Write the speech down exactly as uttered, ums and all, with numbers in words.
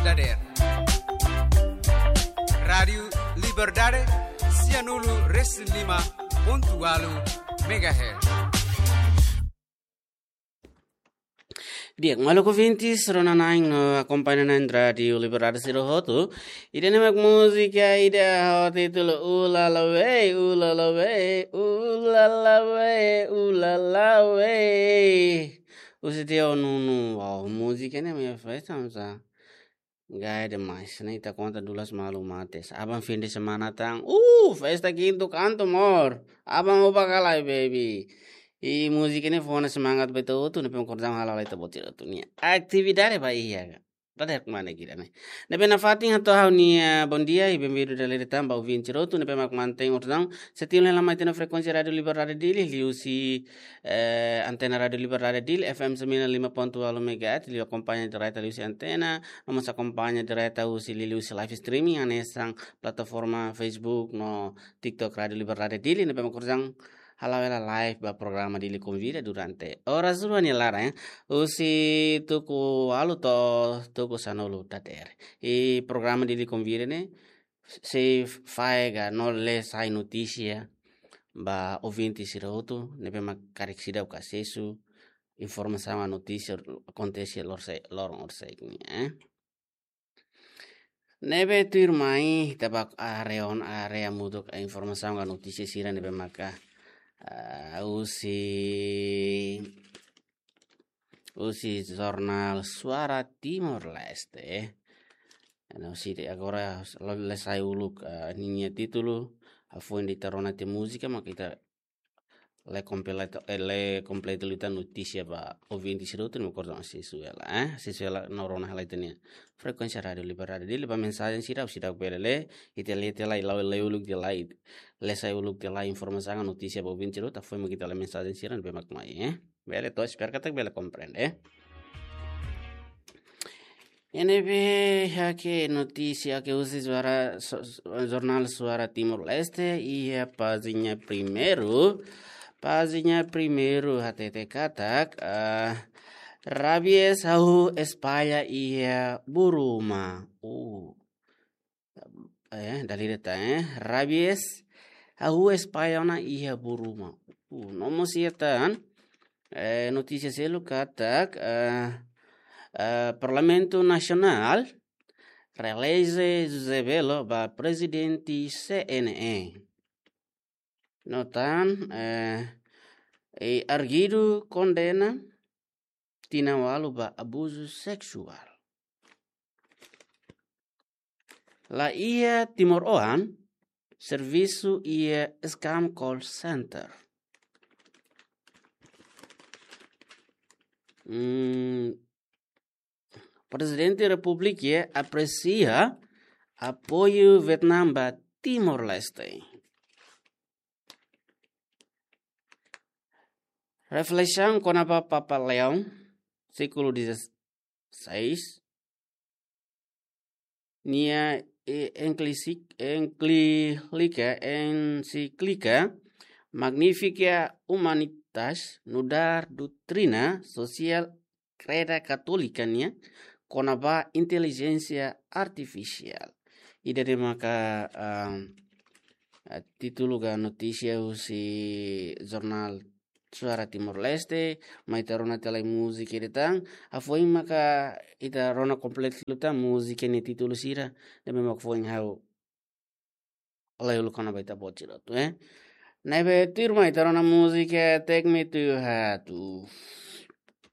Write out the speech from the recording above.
Dader. Rádiu Liberdade, sianulu resin lima pontu ualu megahertz. Di'ak, maluk ouvintes, rona-na'in no akompaña na'in Rádiu Liberdade sira hotu. Ida-ne'e mak múzika ida ho títulu Ulala We, Ulala We, Ulala We, Ulala We. Husi Teo Nunu, wow, múzika ne'e me festa, sa. Gaya demais, ne'e ita konta dulas malu mates. Aban fim de semana tan. Uh, festa kintu kantu mor. Aban uba kalai, baby. I múzika ne'e fó ona semangat ba ita hotu, ne'ebé mak kordam hala'o lai ita-boot sira hotu nia atividade ba iha. Tada yak mana kira ne'e. Ne'ebé nafatin hato'o ha'u-nia bondia, i benvindu dala ida tan ba ouvinte sira hotu, ne'ebé mak mantein kordam. Setiu hela mai ita-nia frekuénsia Rádiu Liberdade Dili, liuhusi, eh, antena Rádiu Liberdade Dili, F M sembilan lima pontu ualu megahertz, liu akompaña direta liuhusi antena, no mós akompaña direta husi liuhusi live streaming, hanesan plataforma Facebook no TikTok Rádiu Liberdade Dili, ne'ebé mak kordam hala'o hela live ba programa Dili Konvida durante oras rua nia laran, eh, husi tuku ualu to'o tuku sanulu dadeer. I programa Dili Konvida ne'e sei fahe ka no lee sai notísia ba ouvinte sira hotu, ne'ebé mak karik seidauk asesu informasaun ka notísia akontese loron se-, loron horisehik nian, eh. Ne'ebé tuirmai, ita bá haree ona, haree hamutuk informasaun ka notísia sira ne'ebé maka, ah, husi, husi jornál Suara Timor-Leste. Entaun, husi ida agora, lee sai uluk, ah, ninia títulu, hafoin ita rona tiha múzika, mak ita lee kompletu, eh, lee kompletu liután notísia ba ouvinte sira hotu, ne'ebé mak kordam asesu hela, eh? Asesu hela no rona hela ita-nia frekuénsia Rádiu Liberdade Dili ba mensajen sira, sira bele lee, ita lee tiha lai, lee uluk tiha lai, lee sai uluk tiha lai informasaun ka notísia ba ouvinte sira hotu, hafoin mak ita lee mensajen sira ne'ebé mak mai, eh? Bele to'o espera katak bele komprende, eh? Ne'ebé, iha ne'e notísia ke husi Suara, so-, so-, jornál Suara Timor-Leste, iha pájina primeiru, pájina primeiru hatete katak, ah, rabies hahú espalla iha Buruma. Uh. Eh, dala ida tan, eh. Rabies hahú espalla ona iha Buruma. Uh, no mós iha tan, eh, notísia seluk katak, eh, eh, Parlamentu Nasionál reeleje José Belo ba prezidente C N E. No tan, eh, i arguidu kondena tinan ualu ba abuzu seksuál. La iha timoroan servisu iha scam call center. Hmm, Prezidente Repúblika apresia apoiu Vietnam ba Timor-Leste. Reflesaun kona-ba Papa Leão, século dezasseis, nia, eh, enclísic-, enclíclica, encíclica Magnifica Humanitas, nu'udar doutrina social kreda katólika nian, kona-ba intelijénsia artifisiál. Ida-ne'e maka, ah, ah, títulu ka notísia husi jornál Suara Timor-Leste, mai ita rona tiha lai múzika ida tan, hafoin maka ita rona kompletu liután múzika nia títulu sira, ne'ebé mak foin ha'u lee uluk kona-ba ita-boot sira hotu, eh. Ne'ebé tuirmai ita rona múzika Take Me to Your Heart. Uh.